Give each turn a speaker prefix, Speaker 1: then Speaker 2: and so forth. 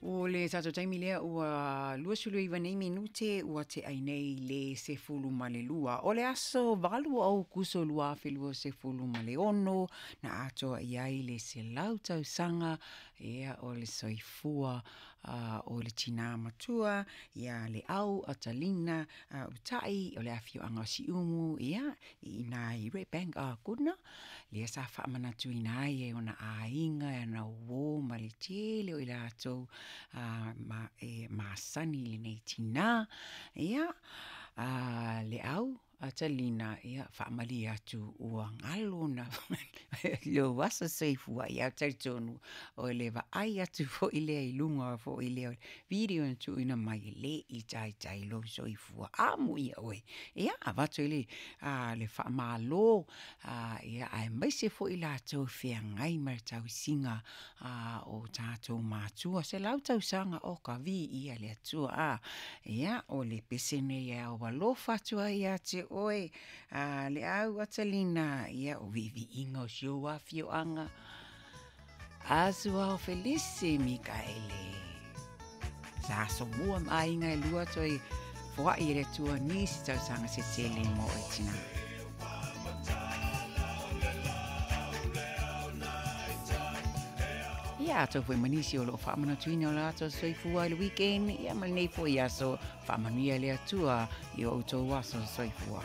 Speaker 1: O le tatou taimi lea ua 29 nei minute ua tea ai nei le 12. O le aso 8 o Aokuso 2026 na atoa i ai le 100 tausaga ia o le soifua o le tinā matua ia Leau Atalina Utai o le afioaga o Siumu ia i ina i Red Bank Kona, lea sa faamanatuina ai e ona aiga, e ana uō ma le tele o i latou ma e masani i lenei tinā. Ia, Leau Atalina, ia, faamalie atu ua galo na lou aso soifua, ia ou te talitonu o le vaai atu foi lea i luga foi lea o le video na tuuina mai e le i taitai lou soifua. Amuia oe, ia avatu ai le, le faamalo, ia, aemaise foi latou feagai ma le tausiga o tatou matua. 100 tausaga, o ka viia le Atua. A, ia, o le pese nei e ao alofa atu ai ia te oe, Leau Atalina, ia, o viiviiga o si ou afioaga. Asuao Felisi Mikaele. Sa asomua ma aiga e lua toe foai e le Atua nisi tausaga se tele mo oe tinā. Ia atonu foi ma nisi o lo o faamanatuina o latou soifua i le weekend, ia ma lenei foi aso, faamanuia le Atua i o outou aso soifua.